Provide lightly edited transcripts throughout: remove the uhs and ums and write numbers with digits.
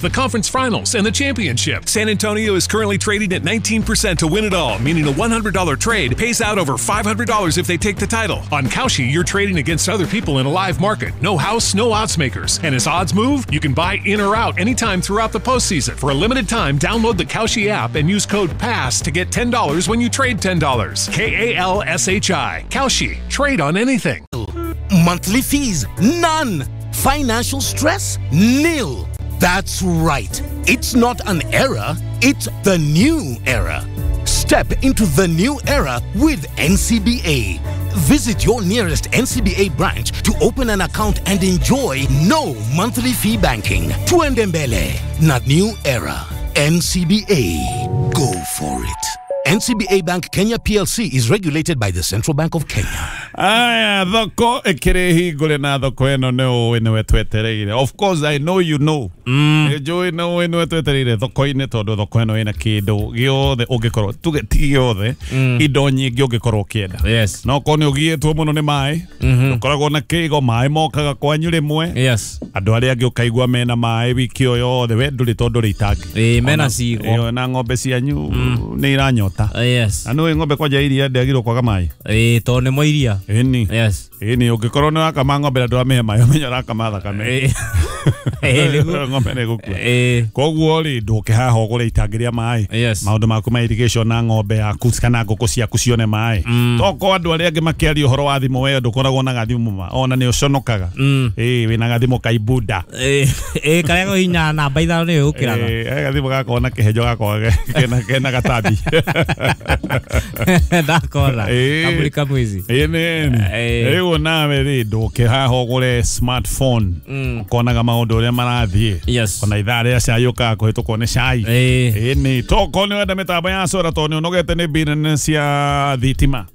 The conference finals, and the championship. San Antonio is currently trading at 19% to win it all, meaning a $100 trade pays out over $500 if they take the title. On Kalshi, you're trading against other people in a live market. No house, no odds makers. And as odds move, you can buy in or out anytime throughout the postseason. For a limited time, download the Kalshi app and use code PASS to get $10 when you trade $10. K-A-L-S-H-I. Kalshi. Trade on anything. Monthly fees, none. Financial stress, nil. That's right. It's not an era, it's the new era. Step into the new era with NCBA. Visit your nearest NCBA branch to open an account and enjoy no monthly fee banking. Tuende mbele na new era. NCBA. Go for it. NCBA Bank Kenya PLC is regulated by the Central Bank of Kenya. Aya, thoko ĩkĩrĩ hingũre na thoko ĩno nĩ ũĩ nĩwe twetereire. Of course I know you know. Njũĩ nĩ ũĩ nĩwe twetereire thoko-inĩ tondũ thoko ĩno ĩna kĩndũ gĩothe ũngĩkorwo tuge ti gĩothe indo nyingĩ ũngĩkorwo ũkĩenda. Yes. No korwo nĩ ũgiĩtwo mũno nĩ maĩ, ũkoragwo na kĩigo maĩ mokaga kwanyu rĩmwe. Yes. Andũ arĩa angĩ ũkaigua mena maĩ wiki o yothe we ndũrĩ tondũ ndũrĩ itangi. Ĩĩ mena cigo. Ĩyo na ng'ombe cianyu nĩ iranyota. Yes. Na nĩũĩ ng'ombe kwanja iria ndĩagĩrĩirwo kwaga maĩ. Ĩĩ tondũ nĩ mo iria. Ĩni. Yes. Ĩni ũngĩkorwo nĩ wakama ng'ombe na ndũramĩhe maĩ ũmenye ũrakama thakame. Ng'ombe nĩ ĩgũkua. Koguo rĩ ndũke haha ũgũre itangi rĩa maĩ. Yes. Maũndũ maku ma irrigation na ng'ombe yaku kana ngũkũ ciaku cione maĩ. Tokorwo andũ arĩa angĩ makĩaria ũhoro wa thimũ we ndũkoragwo na gathimũ ma ona nĩ ũconokaga. Ĩĩ wĩna gathimũ ka ibuda. Ĩĩ karĩa kũhinya namba ithano nĩyo ũkĩraga. Ĩĩ gathimũ gakoragwo na kĩhenjo gakoragwo kena gatambi. Ndakona. Kamuri kamwizi. Ĩĩ nĩ. Rĩu nawe rĩ ndũke haha ũgũre smartphone. Ũkonaga maũndũ ũrĩa marathiĩ. Yes. Ona ithaa rĩa cai ũkaga kũhĩtũkwo nĩ cai. Ĩĩ nĩ. Tokorwo nĩ wenda mĩtambo ya solar tondũ nĩ ũnogete nĩ bill nene cia thitima.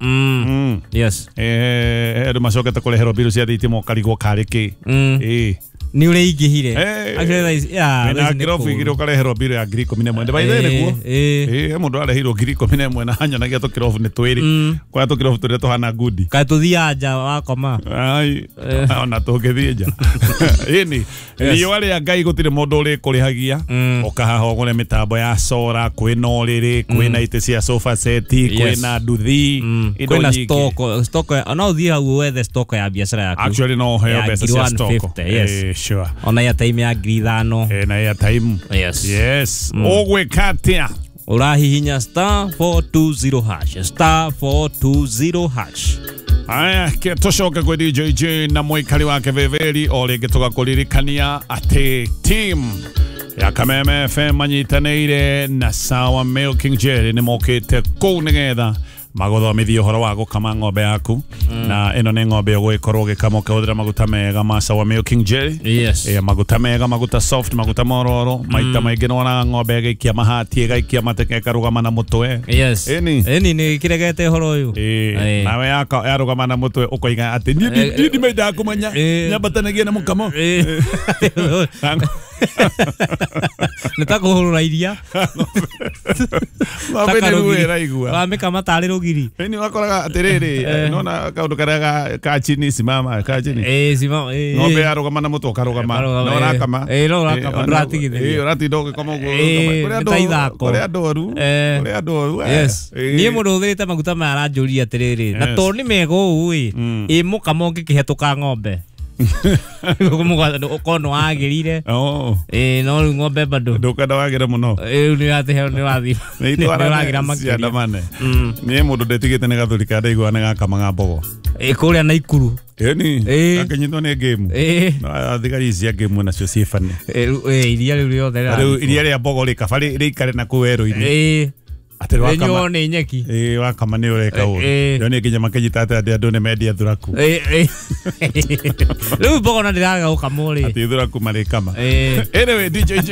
Yes. Andũ macokete kũreherwo bill cia thitima ũkarigwo karĩ kĩ. Ĩĩ. Nĩ ũrĩa ingĩhire. Wĩna ngirobu igĩrĩ ũkareherwo bill ya 11,000. By the way nĩguo. Ĩĩ mũndũ areheirwo 11,000 na anyonagia tũkĩrobu nĩ twĩrĩ. Kwa tũkĩrobu tũrĩa tũhana ngudi. Kaĩ tũthiaga nja wakoma. Ai ona tũngĩthiĩ nja. Ĩni riũa rĩa Ngai gũtirĩ mũndũ ũrĩkũrĩhagia. Ũkahaha ũgũre mĩtambo ya solar, kwĩna ũrĩrĩ, kwĩna itĩ cia sofa set, kwĩna nduthi, indo nyingĩ. Kwĩna stock, no ũthiĩ hau wethe stock ya biacara yaku. Actually no ũheo mbeca cia stock. Yes. Sure. Ona airtime ya 5,000. Na airtime. Yes. Yes. Ũgwĩka atĩa? Ũrahihinya *420 hash *420 hash. Aya, tũcoke kwĩ DJJ na mũikari wake Veveri o rĩngĩ tũgakũririkania atĩ team ya Kameme FM manyitanĩire na Sawa Milking Jelly nĩ mokĩte kũu nĩgetha magothomithie ũhoro wa gũkama ng'ombe yaku. Na ĩno nĩ ng'ombe ũgũgĩkorwo ũgĩkama ũkĩhũthĩra maguta mega ma Sawa Milking Jelly. Yes. Maguta mega, maguta soft, maguta mororo. Maita maingĩ nĩwonaga ng'ombe ĩgaikia mahati, ĩgaikia mateke, ĩkarũgama na mũtwe. Yes. Ĩni. Ĩni nĩ kĩregete ũhoro ũyũ. Ĩĩ. Nawe yarũgama na mũtwe ũkoiga atĩ niĩ ndimendaga kũmenya nyambatanagia na mũkamo. Nĩ ta kũhũrũra iria. Ng'ombe nĩ ruo ĩraigua. Wamĩkama tarĩ rũgiri. Ĩni wakoraga atĩrĩrĩ, nona kaũndũ karĩa ka chini simama, ka chini. Ĩĩ simama. Ng'ombe yarũgama na mũtwe ũkarũgama. No ũrakama. Ĩĩ no ũrakama ndũratigithĩria. Ĩĩ ũratinda ũgĩkoma ũguo. Kũrĩ andũ oru. Kũrĩ andũ oru. Yes. Niĩ mũndũ ũhũthĩrĩte maguta maya aranjũria atĩrĩrĩ, na tondũ nĩ mega ũũ ĩ, ĩ mũkamo ũngĩkĩhetũka ng'ombe. Ũkorwo nĩ wagĩrire. Ĩĩ no rĩu ng'ombe bado. Ndũkwenda wagĩre mũno. Rĩu nĩ ũratĩ nĩ wathiĩ. Nĩ ũragĩra makĩria. Ciandamane. Niĩ mũndũ ndĩtigĩte nĩ gathuri karĩa ndaiguaga nĩ gakamaga mbogo. Ĩĩ kũrĩa Naikuru. Ĩni. Gakĩnyitwo nĩ ngĩmu. No thigari ici cia ngĩmu nacio ciĩ bani. Ĩĩ iria rĩu rĩothe. Rĩu iria rĩa mbogo rĩ kaba rĩikare na kũu werũ-inĩ. Ĩĩ. Atĩ wakama nĩ nyeki. Ĩĩ wakama nĩ ũreka ũru. Rĩo nĩ nginya makĩnyita atĩ andũ nĩ mendia thuraku. Rĩu mbogo na ndĩraga gũkamwo rĩ. Atĩ thuraku marĩkama. Anyway, DJJ.